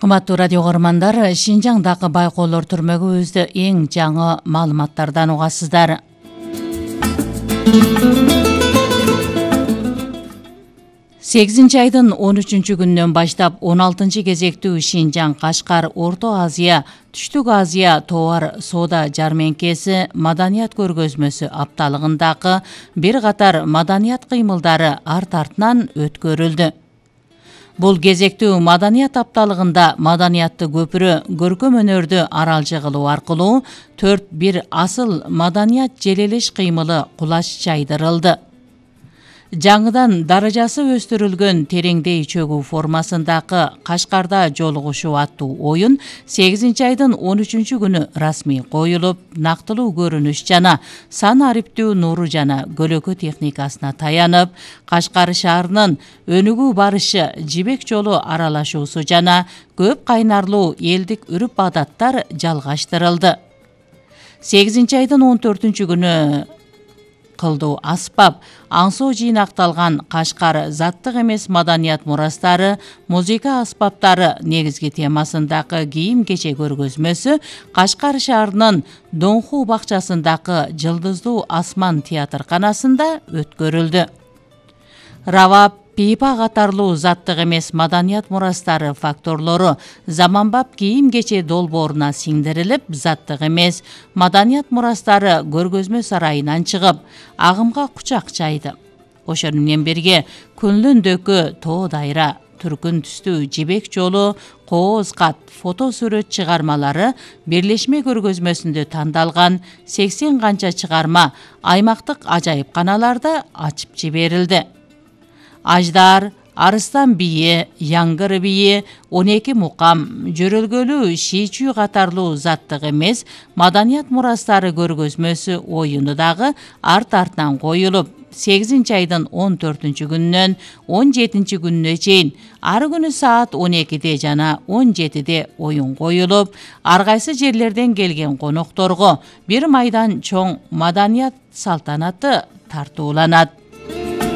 Кымбаттуу радио көрөрмандар, Шинжаңдагы байкоолор түрмөгүбүздө эң жаңы маалыматтардан угасыздар. Сегизинчи айдын 13 күнүнөн баштап 16 кезектүү Шинжаң, Кашкар, Орто Азия, Түштүк Азия товар соода жармеңкеси маданият көргөзмөсү апталыгындагы бир катар маданият кыймылдары арт-артынан өткөрүлдү. Бул кезектүү маданият апталыгында маданиятты көпүрө, көркөм өнөрдү аралжы кылуу аркылуу 4 асыл маданият желелеш кыймылы кулаш чайдырылды. Жаңыдан даражасы өстүрүлгөн тереңдей чөгүү формасындагы Кашкарда жолугушуу аттуу оюн 8 айдын 13 күнү расмий коюлуп, нактылуу көрүнүш жана сан ариптүү нуру жана көлөкө техникасына таянып, Кашкар шаарынын өнүгүү барышы, жибек жолу аралашуусу жана көп кайнарлуу элдик үрп-адаттар жалгаштырылды. 8 айдын 14 күнү кылдуу аспап, аңсоо жыйнакталган Кашкар заттык эмес маданият мурастары, музыка аспаптары негизги темасындагы кийим-кече көргөзмөсү Кашкар шаарынын Донху бакчасындагы Жылдыздуу асман театрканасында өткөрүлдү. Равап, пипа катарлуу заттык эмес маданият мурастары факторлору заманбап кийим-кече долбооруна сиңдирилип, заттык эмес маданият мурастары көргөзмө сарайынан чыгып, агымга кучак чайды. Ошону менен бирге Күнлүндөгү тоо дайра, түркүн түстүү жибек жолу, кооз кат, фото сүрөт чыгармалары бирлешме көргөзмөсүндө тандалган 80 канча чыгарма аймактык ажайыпканаларда ачып жиберилди. Аждар, Арыстан бийи, Яңгыр бийи, 12 мукам, жөрөлгөлүү шийчүү катарлуу заттык эмес маданият мурастары көргөзмөсү оюну дагы арт-артынан коюлуп, 8 айдын 14 күнүнөн 17 күнүнө чейин ар күнү саат 12-де жана 17-де оюн коюлуп, ар кайсы жерлерден келген конокторго бир майдан чоң маданият салтанаты тартууланат.